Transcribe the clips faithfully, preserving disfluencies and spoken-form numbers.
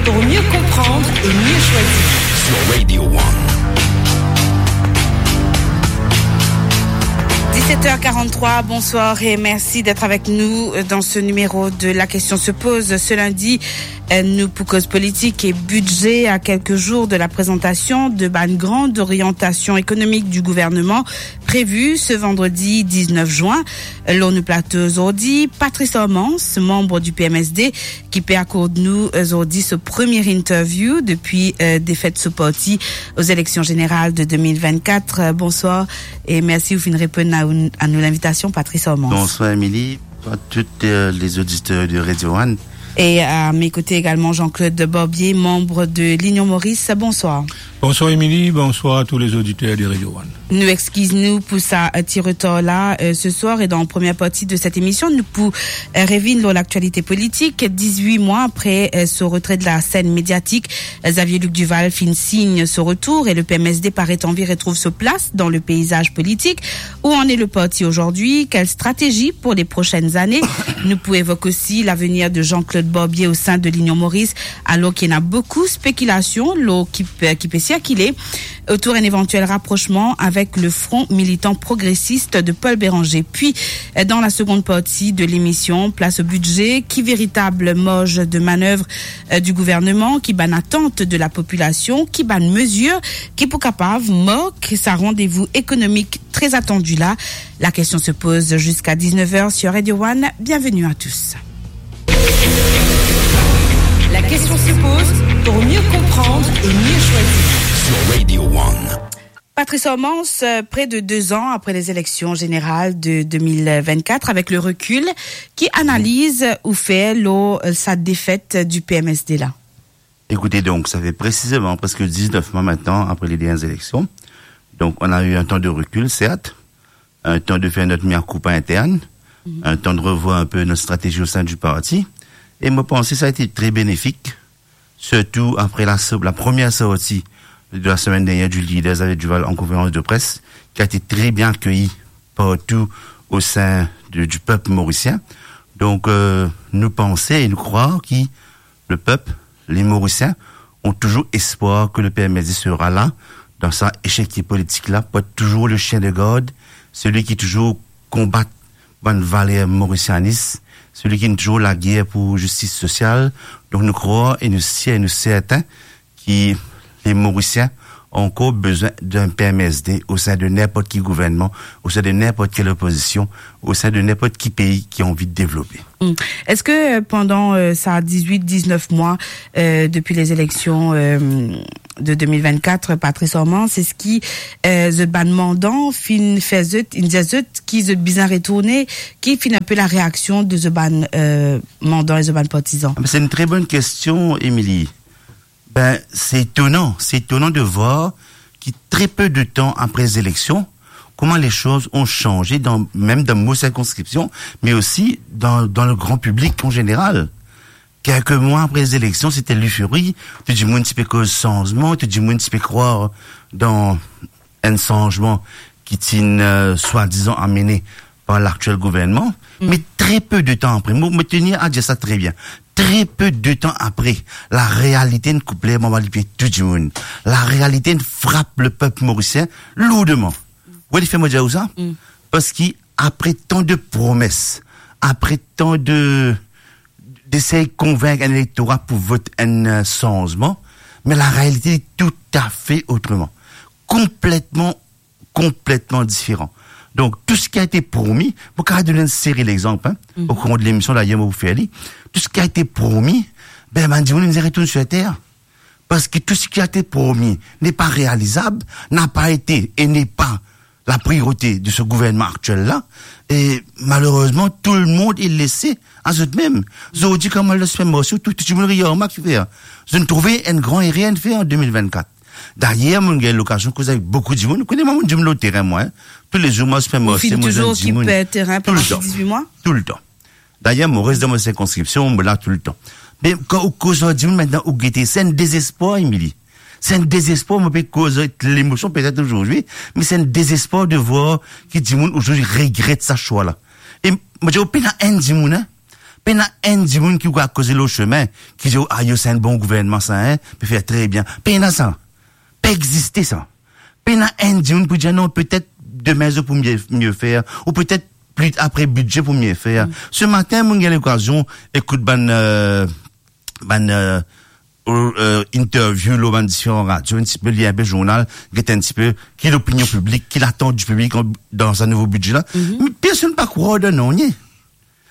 Pour mieux comprendre et mieux choisir. Sur Radio One. Dix-sept heures quarante-trois, bonsoir et merci d'être avec nous dans ce numéro de La Question se pose. Ce lundi, euh, nou pou koz politik e bidze, à quelques jours de la présentation de bann grandes orientations économiques du gouvernement prévues ce vendredi dix-neuf juin. Lor nou plato zordi, Patrice Hormans, manm di P M S D, ki pe akord nou zordi so premie interview depi, euh, defet so parti aux élections générales de deux mille vingt-quatre. Euh, bonsoir e mersi ou finn reponn a, a nou linvitasion, Patrice Hormans. Bonsoir, Émilie. Bonsoir à tous, euh, les auditeurs de Radio One. Et à mes côtés également, Jean-Claude Barbier, membre de l'Union Maurice. Bonsoir. Bonsoir, Émilie. Bonsoir à tous les auditeurs de Radio One. Nou exkiz nou pou sa, euh, ti retar la, euh, ce soir. Et dans la première partie de cette émission, nou pou, euh, revinn lor laktialite politik. Dix-huit mois après, euh, so retrait de la scène médiatique, euh, Xavier Luc Duval finn sign so retour et le P M S D paret anvi retrouv so plas dans le paysage politique. Où en est le parti aujourd'hui ? Quelle stratégie pour les prochaines années ? Nou pou evok osi l'avenir de Jean-Claude Barbier au sein de l'Union Maurice, alors qu'il y a beaucoup spéculation, lor ki pe, ki pe sirkile autour d'un éventuel rapprochement avec le Front Militant Progressiste de Paul Bérenger. Puis, euh, dans la seconde partie de l'émission, place au budget. Ki veritab marz de manèv, euh, du gouverneman, ki bann atant de la popilasion, ki bann mezir ki pou kapav mark sa randevou ekonomik très attendu la. La question se pose jusqu'à dix-neuf heures sur Radio One. Bienvenue à tous. La question se pose pour mieux comprendre et mieux choisir. Sur Radio One. Patrice Hormans, euh, près de deux ans après les élections générales de deux mille vingt-quatre, avec le recul, ki analiz ou fer lor, euh, sa défaite du P M S D la ? Écoutez, donc, ça fait précisément presque dix-neuf mois maintenant après les dernières élections. Donc, on a eu un temps de recul, certes, un temps de faire notre mea culpa interne, un temps de revoir un peu notre stratégie au sein du parti. Et moi, je pense que ça a été très bénéfique, surtout après la so-, la première sortie de la semaine dernière du leader Xavier Duval en conférence de presse, qui a été très bien accueillie partout au sein de, du peuple mauricien. Donc, euh, nous pensons et nous croyons que le peuple, les Mauriciens, ont toujours espoir que le P M S D sera là, dans sa échiquier politik la, pou toujours le chien de garde, celui qui toujours combat bann valer mauricianis, celui qui toujours laguerre pour justice sociale. Donc, nous croyons et nous sirs et nous certains que les Mauriciens ont encore besoin d'un P M S D au sein de n'importe quel gouvernement, au sein de n'importe quelle opposition, au sein de n'importe quel pays qui a envie de développer. Hmm. Est-ce que, euh, pendant, euh, sa dix-huit, dix-neuf mois, euh, depuis les élections, euh, de deux mille vingt-quatre, Patrice Hormans, eski, euh, zot bann mandan finn fer zot, inn dir zot ki zot bizin retourne, ki finn enpe la réaction de zot bann, euh, mandan e zot bann partizan ? Ah, mais c'est une très bonne question, Émilie. Ben, c'est étonnant, c'est étonnant de voir que très peu de temps après les élections, comment les choses ont changé, dans, même dans nos circonscriptions, mais aussi dans, dans le grand public en général. Quelques mois après les élections, c'était l'euphorie, tout dimoun ti pe koz sanzman, tout dimoun ti pe krwar dan enn sanzman ki ti, euh, swadizan amene par l'actuel gouvernement. Mm. Mais très peu de temps après, mo, mo tenir à dire ça très bien, très peu de temps après, la réalité inn koup ler anba lipie tou dimoun. La réalité inn frap le peuple mauricien lourdement. Ou ete fer mo dir ou sa ? Mm. Parski apre tan de promes, apre tan de, d'esey konvink enn elektora pou vot enn, euh, sanzman, me la realite est tout à fait autrement. Konpletman, konpletman diferan. Donk, tou seki a ete promi, mo kapav donn enn seri lexanp, hein, mhm, au courant de l'émission, d'ailleurs, mo pou fer li. Tou seki a ete promi, be, bann dimoun inn retourn sir ter. Parski tou seki a ete promi n'est pas réalisable, n'a pas été et n'est pas la priorité de ce gouvernement actuel-là. Et malheureusement, tout le monde est laissé à zot mem. Zordi, kan mo al dan sipermarse, tou, tou dimoun regard mwa, ki fer? Zot inn trouve enn gran erer inn fer an de mil vennkat. Dayer, mo gagn lokazion koz avek boukou dimoun. Ou kone mwa, mo dimoun lor terin, mwa, hein. Toulezour, mo al sipermarse, mo zwenn dimoun. Ou finn touzour okip terin pandan dizwit mwa? Toultan. Dayer, mo res dan mo sirkonskripsion, mo la toultan. Me kan ou koz ar dimoun, aster ou gete, se enn dezespwar, Émilie. Se enn dezespwar, mo pe koz avek lemosion petet azordi, me se enn dezespwar de vwar ki dimoun azordi regret sa swa la. E mo dir ou, pena enn dimoun, hein, Pena enn dimoun ki pou al koze lor sime, ki dir, "Ah, yo, se enn bon gouvernman sa, hein, pe fer tre bien." Pena sa. Pa existe sa. Pena enn dimoun pou dir, "Non, petet demin zot pou mie, mie fer, ou petet pli apre bidze pou mie fer." Mm. Se matin, mo gagn lokazion ekout bann, euh, bann, euh, euh, interview lor bann diferan radio, enn tipe lir enpe zournal, get enn tipe ki lopinion piblik, ki latant di piblik an, dan sa nouvo bidze la. Mhm. Me personn pa krwar dan nanye.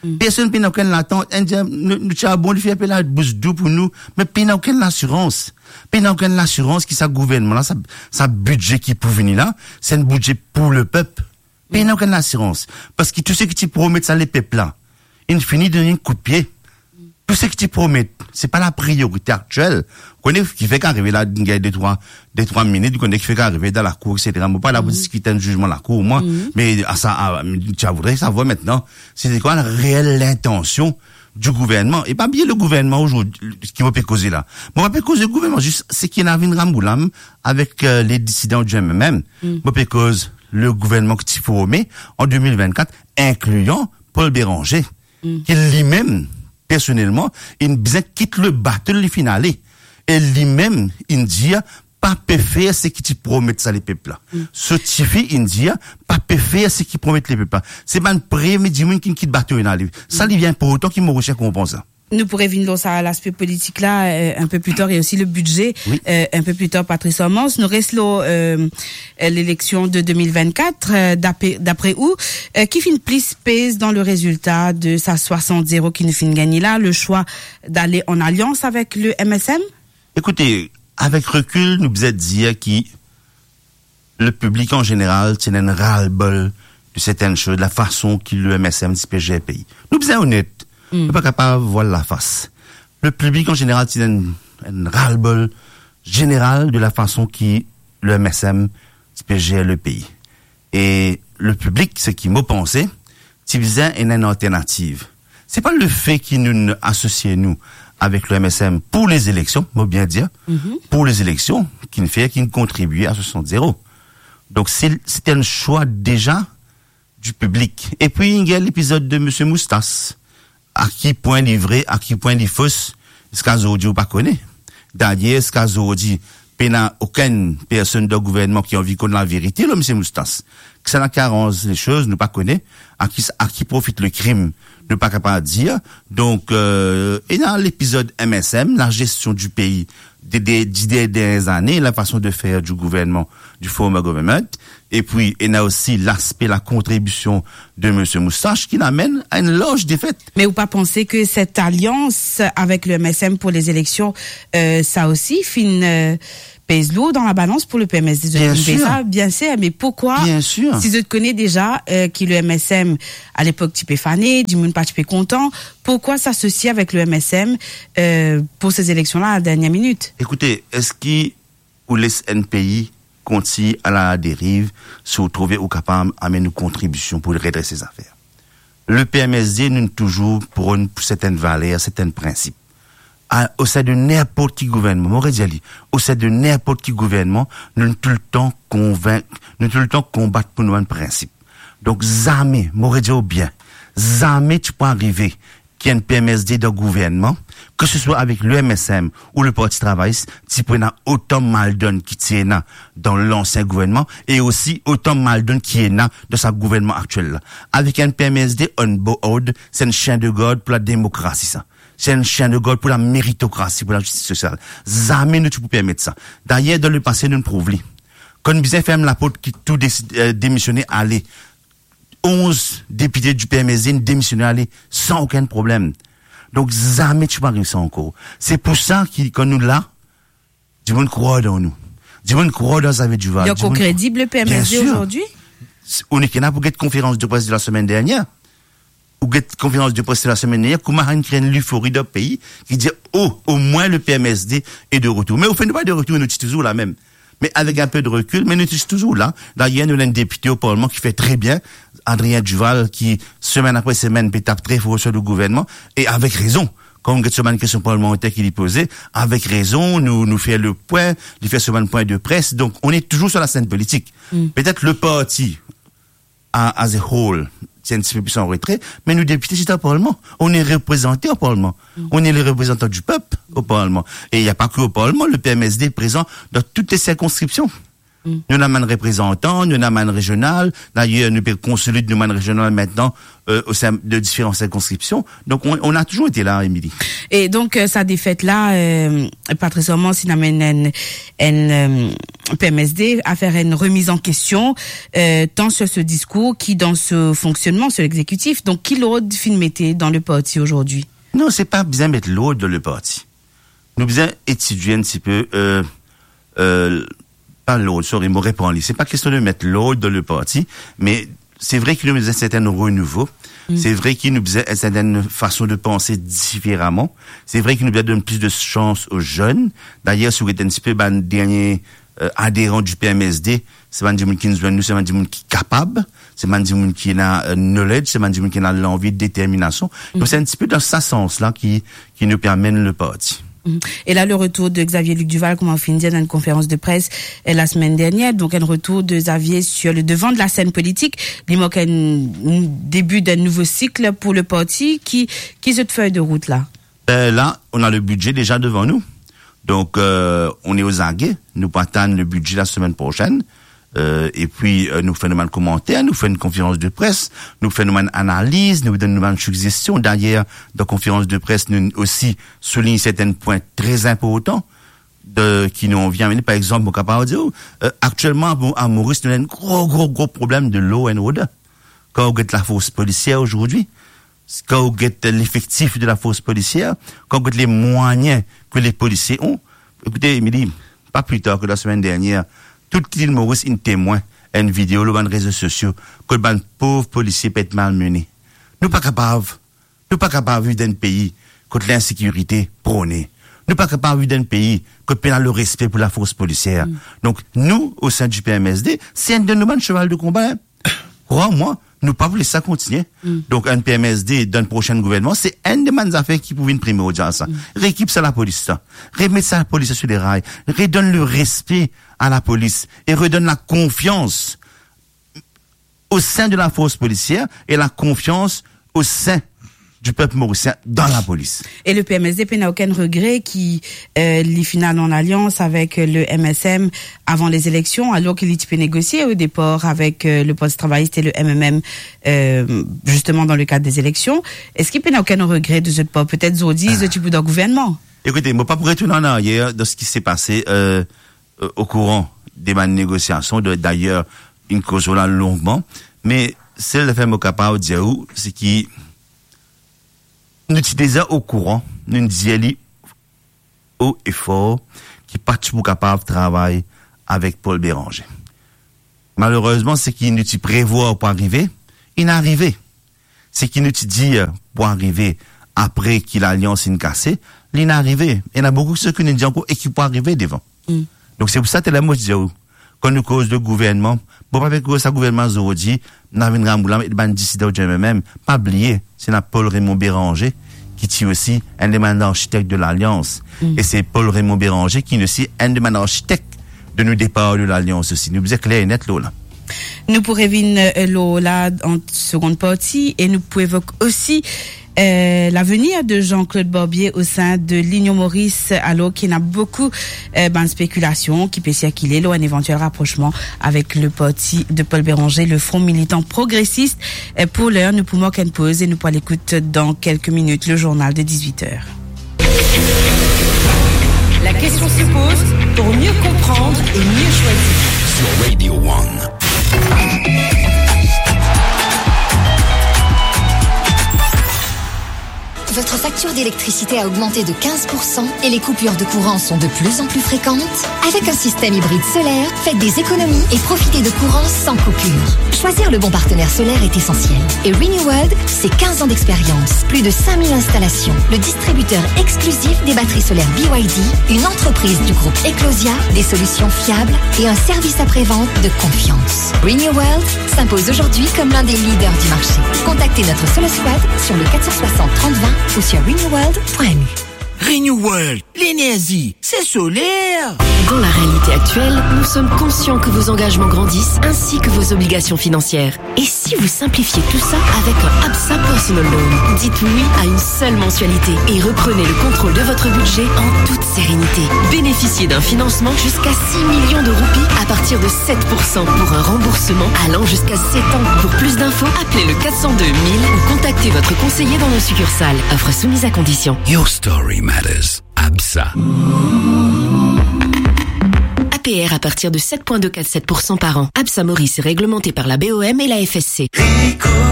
Mm. Personn pena okenn latant. Enn dir, nou, nou ti a bon, li fer pe labous dou pou nou, me pena okenn lasirans. Pena okenn lasirans ki sa gouvernman la, sa, sa bidze ki pou vini la, se enn bidze pou lepep. Pena okenn lasirans. Parski tou seki ti promet sa lepep la, inn fini donn enn kout pie. Tou seki ti promet, se pa lapriorite aktiel. Kone ki fer ki arive la, gagn de trwa, de trwa minit, kone ki fer ki arive dan lakour, et cetera. Mo pa la pou diskit enn zizman lakour, mwa. Mhm. Me a sa, a, ti a voudre savwar aster, se kwa lareel lintansion di gouvernman. E pa bliye le gouvernman ozordi, ki mo pe koze la. Mo pa pe koz le gouvernman, zis seki ena vinn ramboulam avek, euh, le disidan di M M M. Mm. Mo pe koz le gouvernman ki ti forme an de mil vennkat, inklian Paul Bérenger, mm, ki limem, personelman, inn bizin kit le bato li finn ale. E limem, inn dir, pa pe fer seki ti promet sa lepep la. Mm. So tifi, inn dir, pa pe fer seki promet lepep la. Se bann premie dimoun ki kit bato inn ale. Sa, mm, li inportan ki Morisien konpran sa. Nou pou revinn lor sa, laspe politik la, euh, un peu plus tard, et aussi le budget, oui, euh, un peu plus tard, Patrice Armance. Nou res lor, euh, euh, leleksion de de mil vennkat, euh, dapre, dapre ou, euh, ki finn plis pez dan le rezilta de sa swasant zero ki nou finn gagne la, le swa dale an alians avek le M S M? Ekoute, avek rekil, nou bizin dir ki le piblik an zeneral ti ena enn ras-le-bol de sertenn soz, lafason ki le M S M ti pe zer pei. Nou bizin onet. Mm. Nou pa kapav vwal lafas. Le piblik an zeneral ti ena enn, enn ras-le-bol zeneral de lafason ki le M S M ti pe zer le pei. E le piblik, seki mo panse, ti bizin ena enn alternativ. Se pa lefe ki nou asosie nou avek le M S M pou lezileksion, mo bien dir, mhm, pou lezileksion, ki finn fer, ki finn kontribie a swasant zero. Donk, se, se enn swa deza di piblik. Epi, gagn lepizod de Misie Moustache. A ki pwin li vre, a ki pwin li fos, ziska zordi ou pa kone. Dayer, ziska zordi, pena okenn personn dan gouvernman ki anvi konn laverite lor Misie Moustache. Kisannla ki aranz lesoz, nou pa kone. A ki, a ki profit lekrim, nou pa kapav dir. Donk, euh, ena lepizod M S M, la gestion du pays, de, de, di dernie zane, la fason de fer di gouvernman, di former government. Epi, ena osi laspe lakontribision de Misie Moustache ki amenn a enn larz defet. Me ou pa panse ke set alians avek le M S M pou lezileksion, euh, sa osi finn, euh, pez lour dan labalans pou le P M S D? Bien sir. Bien sir, me poukwa, bien sir, si zot kone deza, euh, ki le M S M, a lepok, ti pe fane, dimoun pa ti pe kontan, poukwa s'asosie avek le M S M, euh, pou se zeleksion la, a dernie minit? Ekoute, eski ou les enn pei kontign a la deriv, si ou trouve ou kapav amenn ou kontribision pou redres se zafer. Le P M S D, nou touzour pronn pou sertenn valer, sertenn prinsip. A, osin de ninport ki gouvernman, mo redir li, osin de ninport ki gouvernman, nou toultan konvink, nou toultan konbat pou nou bann prinsip. Donk, zame, mo redir ou bien, zame ti pou arive ki enn P M S D dan gouvernman, ke se swa avek le M S M ou le Parti Travayis, ti pou ena otan maldonn ki ti ena dan lansien gouvernman, e osi otan maldonn ki ena dan sa gouvernman aktiel la. Avek enn P M S D on board, se enn sien de gard pou lademokrasi sa. Se enn sien de gard pou lameritokrasi, pou lazistis sosial. Zame nou ti pou permet sa. Dayer, dan lepase, nou prouv li. Kan nou bizin ferm laport ki tou desi-, euh, demisione ale, onz depite di P M S D inn demisione ale san okenn problem. Donk, zame ti pou ariv sa ankor. Se pou sa ki, kan nou la, dimoun krwar dan nou. Dimoun krwar dan Xavier Duval. Li ankor kredib, le P M S D, bien sir, ozordi? Ou nek ena pou get konferans de pres de lasemenn dernier. Ou get konferans de pres de lasemenn dernier, kouma inn kre enn lefori dan pei, ki dir, "Oh, omwin le P M S D est de retour." Me anfet, nou pa de retour, nou ti touzour la mem. Me avek enn pe de rekil, me nou ti touzour la. Dayer, nou ena enn depite o parlman ki fer tre bien, Adrien Duval, ki semenn apre semenn pe tap tre for swa le gouvernman, e avek rezon. Kan ou get so bann kestion parlmanter ki li poze, avek rezon, nou, nou fer le pwin, li fer so bann pwin de pres. Donk, on est toujours sur la scène politique. Mm. Petet le parti, a, as a whole, c'est un petit peu plus en retrait, mais nos députés, c'est au Parlement. On est représenté au Parlement. Mm. On est les représentants du peuple au Parlement. Et il n'y a pas que au Parlement, le P M S D est présent dans toutes les circonscriptions. Mm. Nou ena bann reprezantan, nou ena bann rezional. D'ailleurs, nou pe konsolid nou bann rezional maintenant, euh, au sein de différentes circonscriptions. Donc, on, on a toujours été là, Émilie. E donk, euh, sa defet la, euh, pa tre sirman, si nou amenn enn, enn, euh, P M S D a fer enn remiz an kestion, euh, tant sur ce discours ki dan so fonksionnman, sur l'exécutif. Donk, ki lord finn mete dan le parti azordi? Non, se pa bizin met lord dan le parti. Nou bizin etidie enn ti pe, euh, euh, pa lord, sorry, mo repran li. Se pa kestion de met lord dan le parti, me se vre ki nou bizin serten renouvo. Mm. Se vre ki nou bizin enn sertenn fason de panse diferaman. Se vre ki nou bizin donn plis de sans aux jeunes. D'ailleurs, si ou get enn ti pe bann dernie, euh, aderan du P M S D, se bann dimoun ki zwenn nou, se bann dimoun ki kapab, se bann dimoun ki ena, euh, knowledge, se bann dimoun ki ena lanvi, determinasion. Donc, mm, se enn ti pe dan sa sans la ki, ki nou pe amenn le parti. Mhm. E la, le retour de Xavier Luc Duval, kouma ou finn dir, dan enn konferans de pres, euh, la semaine dernière, donk enn retour de Xavier sur le devant de la scène politique, li mark enn, enn debi d'enn nouvo sik pou le parti. Ki, ki zot fey de rout la? Euh, là, on a le budget déjà devant nous. Donc, euh, on est aux aguets. Nou pou atann le budget la semaine prochaine. Euh, epi, euh, nou fer nou bann komanter, nou fer enn konferans de pres, nou fer nou bann analiz, nou donn nou bann sigzestion. D'ailleurs, dan konferans de pres, nou osi soulign serten pwin tre inportan de, ki nou anvi amenn. Par exanp, mo kapav dir, euh, aktielman, a Mo-, a Moris, nou ena enn gro, gro, gro problem de law and order. Kan ou get lafors polisier azordi, kan ou get lefektif de lafors polisier, kan ou get lemwayin ke lepolisie ena, ekoute, Émilie, pa pli tar ke lasemenn dernier, tout Lil Moris inn temwin enn video lor bann rezo sosio kot bann pov polisie pe et malmene. Nou pa kapav, nou pa kapav viv dan enn pei kot linsekirite prone. Nou pa kapav viv dan enn pei kot pena lerespe pou lafors polisier. Mm. Donk, nou, au sein du P M S D, se enn de nou bann cheval de konba, hein. Krwar mwa, nou pa pou les sa kontinie. Mm. Donk, enn P M S D dan prosin gouvernman, se enn de bann zafer ki pou vinn primordial, sa. Mm. Reekip sa lapolis, sa. Remet sa lapolis sur les rails. Redonn lerespe a lapolis e redonn lakonfians au sein de la force policière et la confiance au sein du peuple mauricien dans la police. E le P M S D pena okenn regre ki, euh, li finn al an alians avek le M S M avan lezileksion, alor ki li ti pe negosie o depar avek, euh, le Parti Travayis e le M M M, euh, zisteman dan le kad dezileksion. Eski pena okenn regre de zot par? Petet zot dir, ah, zot ti pou dan gouvernman. Ekoute, mo pa pou retourn an aryer dan seki se pase, euh, euh, okouran de bann negosiasion, de, dayer, inn koz la longman, me sel zafer mo kapav dir ou, se ki nou ti deza okouran, nou dir li o e for, ki pa ti pou kapav travay avek Paul Bérenger. Malerezman, seki nou ti prevwar pou arive, inn arive. Seki nou ti dir pou arive apre ki lalians inn kase, linn arive. Ena boukou seki nou dir ankor e ki pou arive devan. Mm. Donk, se pou sa, taler mo ti dir ou, kan nou koz de gouvernman, mo pa pe koz sa gouvernman zordi, nou vinn rann la met bann disidan ou dimoun mem. Pa bliye, se ena Paul Raymond Bérenger, ki ti osi enn de bann arkitek de lalians. Mm. E se Paul Raymond Bérenger ki osi enn de bann arkitek de nou depar de lalians osi. Nou bizin kler e net lor la. Nou pou revinn, euh, lor la an segonn parti e nou pou evok osi, euh, lavenir de Jean-Claude Barbier au sein de Linion Moris, alor ki ena boukou, euh, bann spekilasion ki pe sirkile lor enn evantiel raprosman avek le parti de Paul Bérenger, le Front Militant Progressiste. Euh, pou ler, nou pou mark enn poz e nou pou al ekout dan kelke minit le journal de dix-huit heures. La question se pose pour mieux comprendre et mieux choisir. Sur Radio One. Votre facture d'électricité a augmenté de quinze pour cent et les coupures de courant sont de plus en plus fréquentes ? Avec un système hybride solaire, faites des économies et profitez de courant sans coupure. Choisir le bon partenaire solaire est essentiel. Et Renew World, c'est quinze ans d'expérience, plus de cinq mille installations, le distributeur exclusif des batteries solaires B Y D, une entreprise du groupe Eclosia, des solutions fiables et un service après-vente de confiance. Renew World s'impose aujourd'hui comme l'un des leaders du marché. Contactez notre Solar Squad sur le quatre cent soixante trente vingt ou sur renew world point M U. New World, l'énergie, c'est solaire. Dans la réalité actuelle, nous sommes conscients que vos engagements grandissent ainsi que vos obligations financières. Et si vous simplifiez tout ça avec un ABSA Personal Loan ? Dites oui à une seule mensualité et reprenez le contrôle de votre budget en toute sérénité. Bénéficiez d'un financement jusqu'à six millions de roupies à partir de sept pour cent pour un remboursement allant jusqu'à sept ans. Pour plus d'infos, appelez le quatre cent deux mille ou contactez votre conseiller dans nos succursales. Offre soumise à condition. Your story matters. ABSA. A P R à partir de sept point deux quatre sept pour cent par an. ABSA Maurice est réglementé par la B O M et la F S C.